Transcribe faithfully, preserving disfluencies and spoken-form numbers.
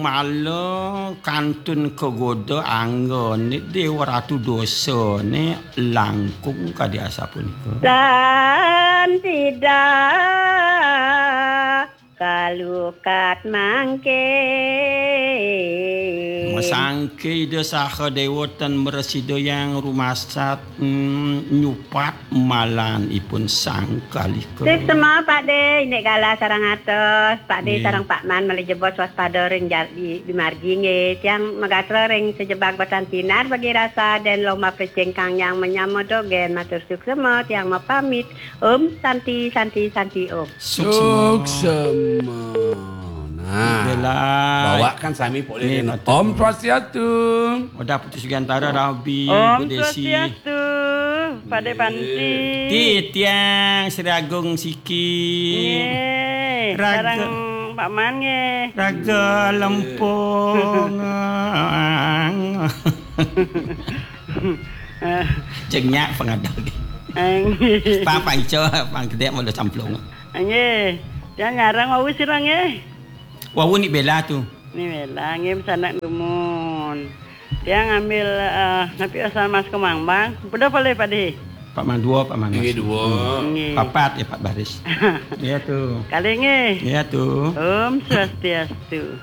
Mala kantun kagoda anggane Dewa Ratu Dosane langkung kadi asapunika. Dan tidak kalukat mangke. Masangke Ida saha dewa tan mresida yang rumasat, mm, nyupat malan ipun sangkalika. Suksma, Pak De, indik galah sareng atos, Pak De. Nggih. Sareng Pak Man malih jebos waspada ring jar-, di, di margi nggih. Tiang magatra ring sejebag batan sinar bagi rasa den lomba pecing kang yang menyama dogen matur suksma, tiang mapamit. Om Santi, Santi, Santi, Om. Suksma. Suksma. Nah, Bela. Bawakan sami polih. Nggih, dene. Matur. Om Swastiastu. Odah Putu Sugiantara, Rabi, Om Bu Desi. Swastiastu, Pak De Panti. Titiang Sri Agung Siki. Nggih, Raga. Sareng Pak Man nggih. Raga Lempung. Cek nyak pengadal. Nggih. Pang, pang ijo, pang gedek mula camplung. Nggih. Tiang nyareng wau sira nggih. Wau ni Bela tu. Ni Bela nggih, sanak dumun. Tiang ngambil, eh, napi asal Mas Kemambang. Udah boleh, Pak De? Pak Man dua, Pak Man. Nggih, dua. Hmm. Nggih. Papat ya, Pak Baris. Iya tu. Kalih nggih. Iya tu. Om Swastiastu.